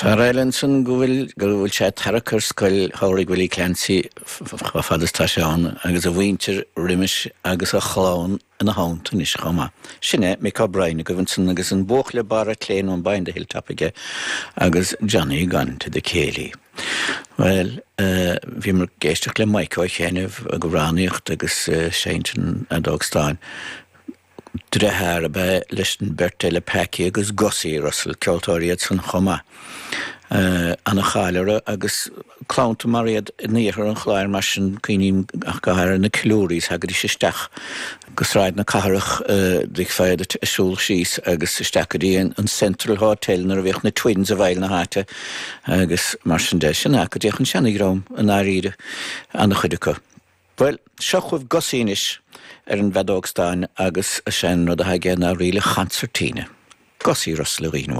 Fear eile ansan go bhfuil, go bhfuil sé ag tarrac ar scoil shamhraidh Willie Clancy chomh fada is tá sé ann agus a mhuintir roimis agus a chlann ina theannta anois chomh maith. Sin é Mick O'Brien agaibh ansan agus an buachaill ag barr an tSléibhe nó an By the Hilltop aige agus Johnny Gone to the Céilí. Bhuel, bhíomar ag éisteacht le Mike Ó Chianaibh ag amhránaíocht agus seinnt an fheadóg stáin. Deartháir ab ea leis an beirt eile Packie agus Gussie Russell, ceoltóirí iad san chomh maith. Ana-cháil orthu agus cleannta mar iad in iarthar an Chláir mar sin, cuimhním ach go háirithe na Killurys, thagaidís isteach go Sráid na Cathrach, d'fheicfeá iad ag siúl síos agus isteach go dtí an Central Hotel nuair a bhíodh na Twins i bhfeighil na háite agus mar sin de. Sin é go dtéadh an seana-dhream i ndáiríre, ana-chuid acu. Bhuel, seo chugaibh Gussie anois ar an bhfeadóg stáin agus is é an rud atá aige ná ríle chonsairtíne. Gussie Russell a dhaoine.